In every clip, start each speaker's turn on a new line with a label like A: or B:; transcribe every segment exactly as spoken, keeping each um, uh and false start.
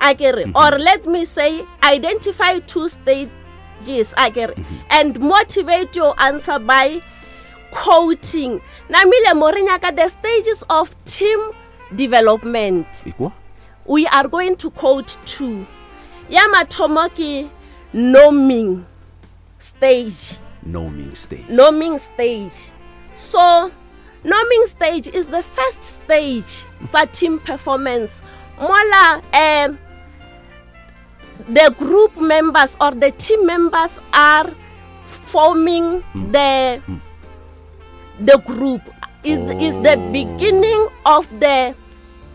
A: A kere, or let me say, identify two stages, a kere, and motivate your answer by quoting. Namile mo re nyaka the stages of team development.
B: Ekwa.
A: We are going to quote two. Ya mathomo ke norming stage.
B: Norming stage.
A: Norming stage. So norming stage is the first stage sa team performance, mola um the group members or the team members are forming the the group is is the beginning of the,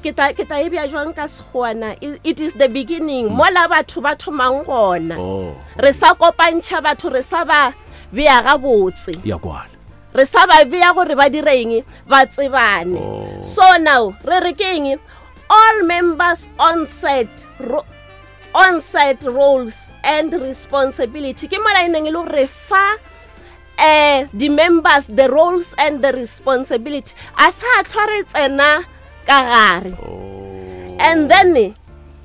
A: ke ta ke ta e bea jwang ka Sekgowa? It it is the beginning mola batho ba thomang gona.
B: Oh.
A: Re sa kopantšha batho, re sa ba bea gabotse.
B: Ya kwala.
A: Re sa ba bea gore ba direng, ba tsebane.
B: Oh.
A: So now re re ke eng? All members on set ro on set roles and responsibility. Ke mola e neng e le gore re fa eh di-members the roles and the responsibility, a sa tlhwa re tsena ka gare. And then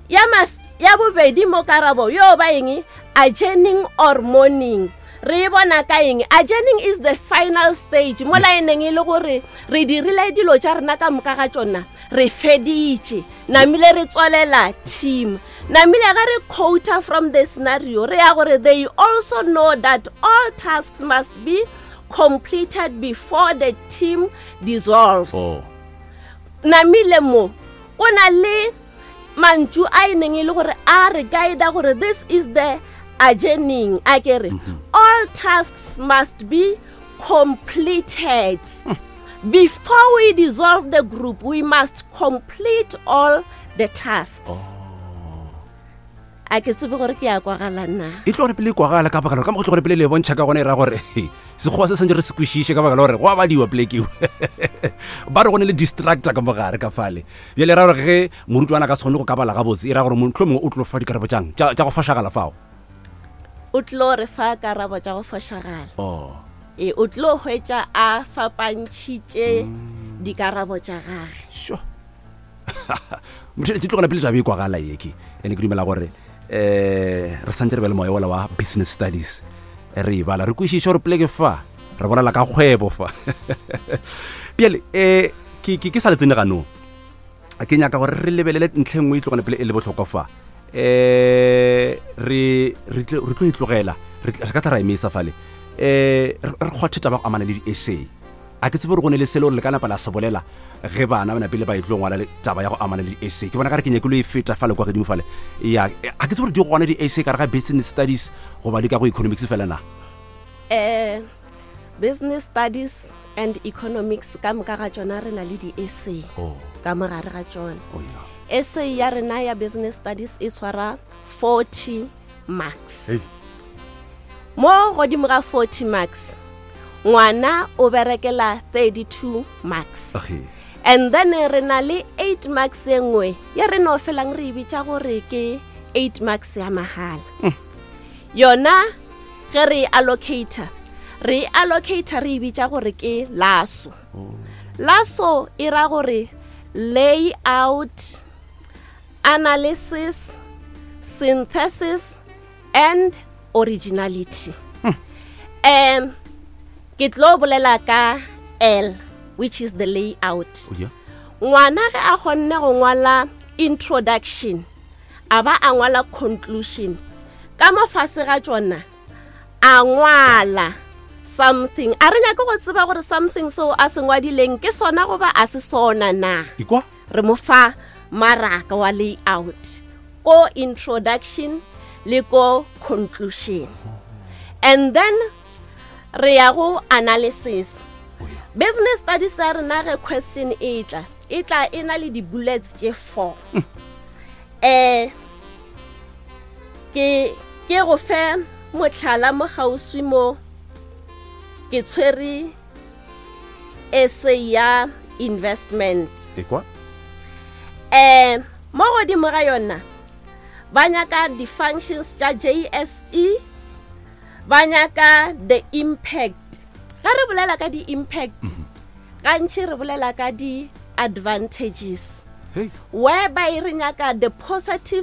A: ya maf- ya bobedi mo karabo yo ba eng? Adjourning or mourning. Re e bona ka eng? Adjourning is the final stage, mola e neng e le gore re dirile dilo tša rena ka moka ga tšona, re feditše, namile re tswalela team. Namile ga re quota from the scenario, re ya gore they also know that all tasks must be completed before the team dissolves.
B: Oh.
A: Namile mo go na le mantšu a e neng e le gore a re guida gore this is the adjourning. A kere all tasks must be completed before we dissolve the group. We must complete all the tasks. A ke tsebe gore ke ya kwagala na.
B: E tlo gore pele e kwagala ka baka la ka mo go tlo gore pele le bontšha ka gona, e ra gore Sekgowa se santse re se kwešiše ka baka la gore go a badiwa polekeo ba re go ne le distractor ka mogare ka fale. Bjale e ra gore ge morutwana a ka se kgone go ka bala gabotse, e ra gore motlho mongwe o tlo fa dikarabo tšang tša tša go fošagala fao.
A: O tlo re fa karabo tša go fošagala.
B: Oh.
A: E o tlo hwetša a fapantšhitše dikarabo tša gage.
B: Sure, motho tlo gona pele taba e kwagala ye ke ene ke dumela gore um re santse re be le moya ola wa business studies, re e bala, re kwešiše gore poleke fa re bolela ka kgwebo fa. Bjale um ke ke- ke sa le tsene ganong, ke nyaka gore re lebelele ntlha e nngwe e tlogane pele e le botlhokwa fa. um re re tlo re tlo e tlogela, re tl- re ka tla ra emisa fale, um re re kgwathe taba go amana le di-essay. A ke tsebe gore go ne le sele gore le ka napa la se bolela ge bana ba napele ba e tlo ngwala le taba ya go amana le di-essay. Ke bona ka re ke nyakilo e feta fale kwa godimo fale ya. A ke tsebe gore di gona di-essay ka re ga business studies goba di ka go economics fela na?
A: eh business studies and economics ka moka ga tšona re na le di-essay
B: oh.
A: ka mogare ga tšona.
B: Oh, yeah.
A: Essay ya rena ya business studies e tshwara forty marks.
B: Hey.
A: Mo godimo ga forty marks, ngwana o berekela thirty-two marks.
B: Okay.
A: And then re na le eight marks e nngwe ye re no felang re e bitša gore ke eight marks ya mahala. Yona ge re e allocata, re e allocata re e bitša gore ke laso. Laso e ra gore layout, analysis, synthesis and originality. um ke tlo bolela ka L, which is the layout.
B: Oh, yeah.
A: Ngwana ge a kgonne go ngwala introduction, a ba a ngwala conclusion, ka mo fase ga tšona a ngwala something, a re nyake go tseba gore something seo a se ngwadileng ke sona goba a se sona na.
B: Ikwa.
A: Re mo fa maraka wa layout ko introduction le ko conclusion. And then re ya go analysis.
B: Oh, yeah.
A: Business studies ya rena, ge question e tla, e tla e na le di-bullets tše four. um ke ke go fe motlhala mo kgauswi mo ke tshwere essay ya investment.
B: Ekwa.
A: um mo godimo ga yona ba nyaka di-functions tša J S E, ba nyaka the impact. Ga re bolela ka di-impact, gantši re bolela ka di-advantages,
B: Hey.
A: whereby re nyaka the positive